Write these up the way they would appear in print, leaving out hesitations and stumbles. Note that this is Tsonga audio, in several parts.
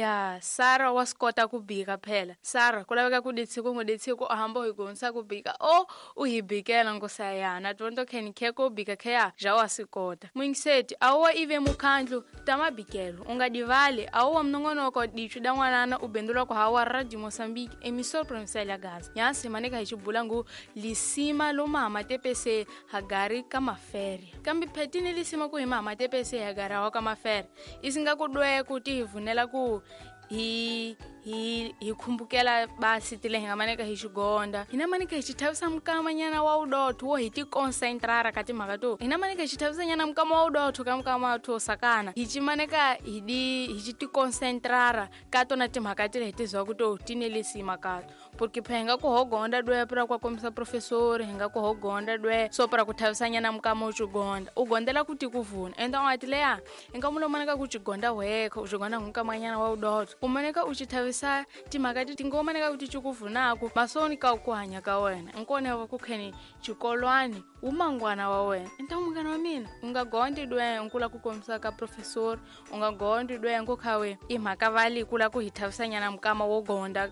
Ya Sara wa swi kota ku bika phela. Sara ku laveka ku ditshiko ngo ditshiko a hamba hi gonisa ku bika o u hi bikela nkosi ya na tonto kheni kheko bika kheya ja wa swi kota. Mwingiseti a wo ive mukhandlu ta mabikelo u nga divali a wo wa mnongonoko dichu da n'wanana u bendula ku hawa Radio Mozambique emissor provincial ya Gaza. Nyasi maneka hi xibula ngu lisima lo mama tepese hagari ka mafere. Kambe phetini lisima ku hi mama tepese hagari wa ka mafere. Isinga ku dwe ku ti hi vunela ku hi hi hi khumbukela basi tile hi nga maneka hi xigonda hina maneka hi xithavisa mukamanyana wa udotho wo hi ti concentrara ka timhaka to hina maneka hi xithavisa nyana mukama wa udotho ka mukama wa tho sakana hi cimaneka hi di hi xi ti concentrara ka tona timhaka tile hi tizwa ku to ti ne lisima kato porque phe hi nga ku hogonda dwe pra kwa kombisa professori hi nga ku hogonda dwe so pra ku thavisanyana mukama u xigonda u gondela ku ti ku vuna ende u nga ti leya i nga mulo maneka ku xigonda wekho u xigonda nkamanyana wa udotho u maneka u xi thavisa timhaka ti ngo maneka ku ti ci ku vunaku masoni ka ku hanya ka wena nkone wa ku kheni xikolwani wu mangwana wa wena enta munghana wa mina u nga gondi dwe nkula ku kombisa ka professori u nga gondi dwe nko khawe i mhaka vali kula ku hi thavisanyana mukama wo gonda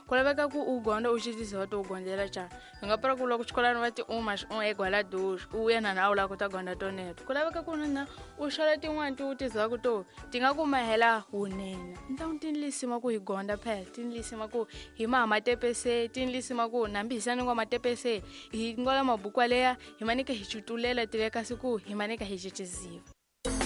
ku laveka ku u gonda u xitisa wa to u gondela ca hi nga pra ku loko xikolani va ti uma u egwala dush u yena na u lava ku ta gonda toneto ku laveka ku na u xala tin'wani ti u tiziva ku to ti nga ku mahela wunene ntangu ti lisima ku hi gonda phela ti lisima ku hi maha matepese ti lisima ku nambi hi sani ngwa matepese hi ngola mabukwa leya hi maneka hi cutulela tile kasi ku hi maneka hi ciciziva.